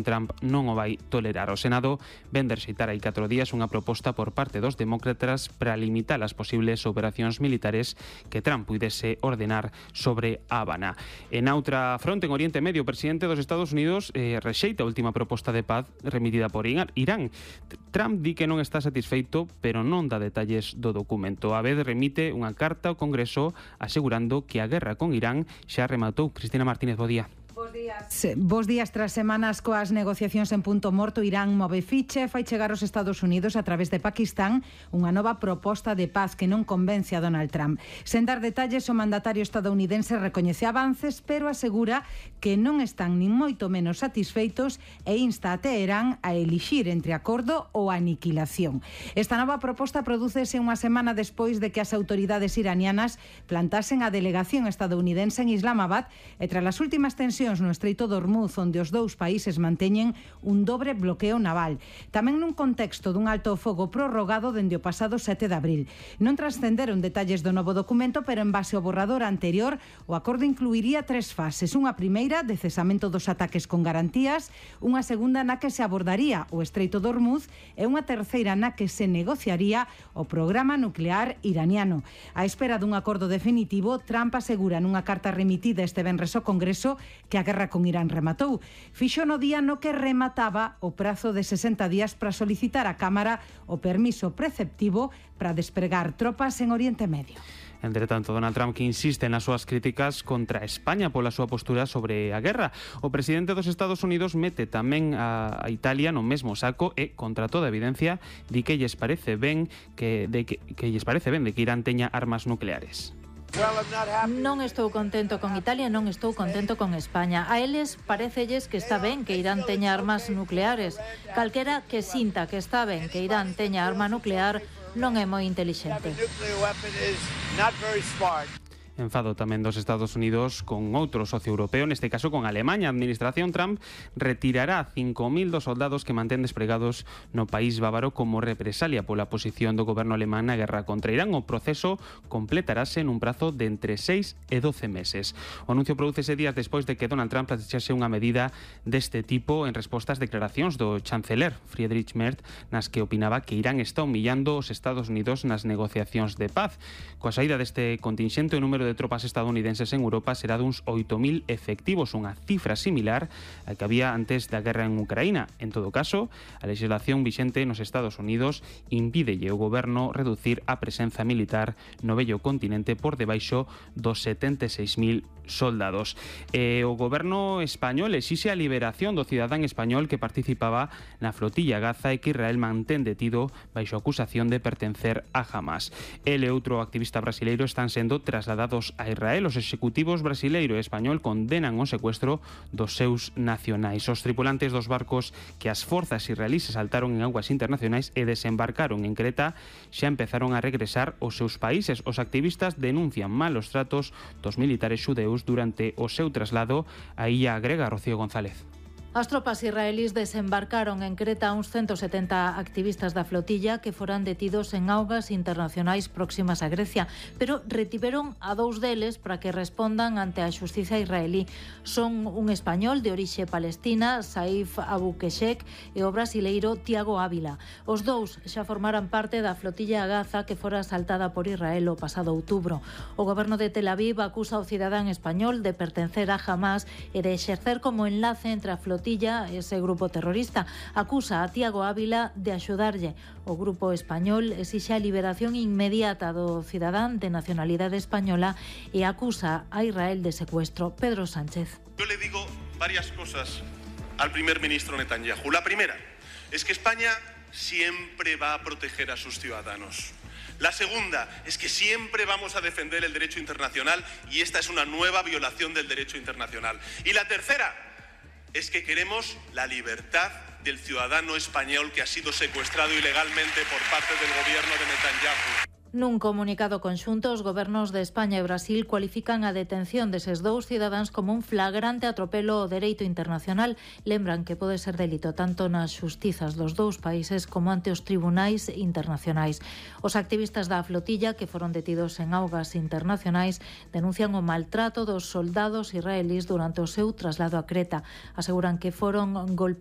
Trump non o vai tolerar. O Senado ven de rexeitar hai 4 días unha proposta por parte dos demócratas para limitar as posibles operacións militares que Trump puidese ordenar sobre a Habana. En outra fronte, en Oriente Medio, o presidente dos Estados Unidos rexeita a última proposta de paz remitida por Irán. Trump di que non está satisfeito, pero non dá detalles do documento. A vez remite unha carta ao Congreso asegurando que a guerra con Irán xa rematou. Cristina Martínez, bo día. Bos días. Tras semanas coas negociacións en punto morto, Irán move ficha e fai chegar aos Estados Unidos a través de Pakistán unha nova proposta de paz que non convence a Donald Trump. Sen dar detalles, o mandatario estadounidense recoñece avances, pero asegura que non están nin moito menos satisfeitos e insta a Teherán a elixir entre acordo ou aniquilación. Esta nova proposta prodúcese unha semana despois de que as autoridades iranianas plantasen a delegación estadounidense en Islamabad e tras as últimas tensións no Estreito de Hormuz, onde os dous países manteñen un dobre bloqueo naval. Tamén nun contexto dun alto fogo prorrogado dende o pasado 7 de abril. Non trascenderon detalles do novo documento, pero en base ao borrador anterior, o acordo incluiría 3 fases. Unha primeira, de cesamento dos ataques con garantías, unha segunda na que se abordaría o Estreito de Hormuz e unha terceira na que se negociaría o programa nuclear iraniano. A espera dun acordo definitivo, Trump asegura nunha carta remitida este venres ao Congreso que a guerra con Irán rematou. Fixo no día no que remataba o prazo de 60 días para solicitar á Cámara o permiso preceptivo para despregar tropas en Oriente Medio. Entre tanto, Donald Trump que insiste nas súas críticas contra España pola súa postura sobre a guerra. O presidente dos Estados Unidos mete tamén a Italia no mesmo saco e, contra toda evidencia, di que lles parece ben de que Irán teña armas nucleares. Non estou contento con Italia, non estou contento con España. A eles parecelles que está ben que Irán teña armas nucleares. Calquera que sinta que está ben que Irán teña arma nuclear non é moi intelixente. Enfado tamén dos Estados Unidos con outro socio europeo, neste caso con Alemanha. A administración Trump retirará 5.000 dos soldados que mantén despregados no país bávaro como represalia pola posición do goberno alemán na guerra contra Irán. O proceso completarase nun prazo de entre 6 e 12 meses. O anuncio prodúcese días despois de que Donald Trump plantease unha medida deste tipo en resposta ás declaracións do chanceler Friedrich Merz, nas que opinaba que Irán está humillando os Estados Unidos nas negociacións de paz. Coa saída deste contingente, o número de tropas estadounidenses en Europa será duns 8.000 efectivos, unha cifra similar a que había antes da guerra en Ucraína. En todo caso, a legislación vixente nos Estados Unidos impídelle ao goberno reducir a presenza militar no vello continente por debaixo dos 76.000 soldados. O goberno español exixe a liberación do cidadán español que participaba na flotilla Gaza e que Israel mantén detido baixo acusación de pertencer a Hamas. El e outro activista brasileiro están sendo trasladados a Israel. Os executivos brasileiro e español condenan o secuestro dos seus nacionais. Os tripulantes dos barcos que as forzas israelíes saltaron en aguas internacionais e desembarcaron en Creta xa empezaron a regresar aos seus países. Os activistas denuncian malos tratos dos militares xudeus durante o seu traslado á illa grega. Rocío González. As tropas israelís desembarcaron en Creta uns 170 activistas da flotilla que foran detidos en augas internacionais próximas a Grecia, pero retiveron a 2 deles para que respondan ante a xustiza israelí. Son un español de orixe palestina, Saif Abukeshek, e o brasileiro Tiago Ávila. Os dous xa formaran parte da flotilla Gaza que fora asaltada por Israel o pasado outubro. O goberno de Tel Aviv acusa ao cidadán español de pertencer a Hamas e de exercer como enlace entre a flotilla ese grupo terrorista. Acusa a Tiago Ávila de axudarlle. O grupo español exixe a liberación inmediata do cidadán de nacionalidade española e acusa a Israel de secuestro. Pedro Sánchez. Yo le digo varias cosas al primer ministro Netanyahu. La primera es que España siempre va a proteger a sus ciudadanos. La segunda es que siempre vamos a defender el derecho internacional y esta es una nueva violación del derecho internacional. Y la tercera es que queremos la libertad del ciudadano español que ha sido secuestrado ilegalmente por parte del gobierno de Netanyahu. Nun comunicado conxunto, os gobernos de España e Brasil cualifican a detención deses dous cidadáns como un flagrante atropelo ao dereito internacional. Lembran que pode ser delito tanto nas xustizas dos dous países como ante os tribunais internacionais. Os activistas da flotilla que foron detidos en augas internacionais denuncian o maltrato dos soldados israelís durante o seu traslado a Creta. Aseguran que foron golpeados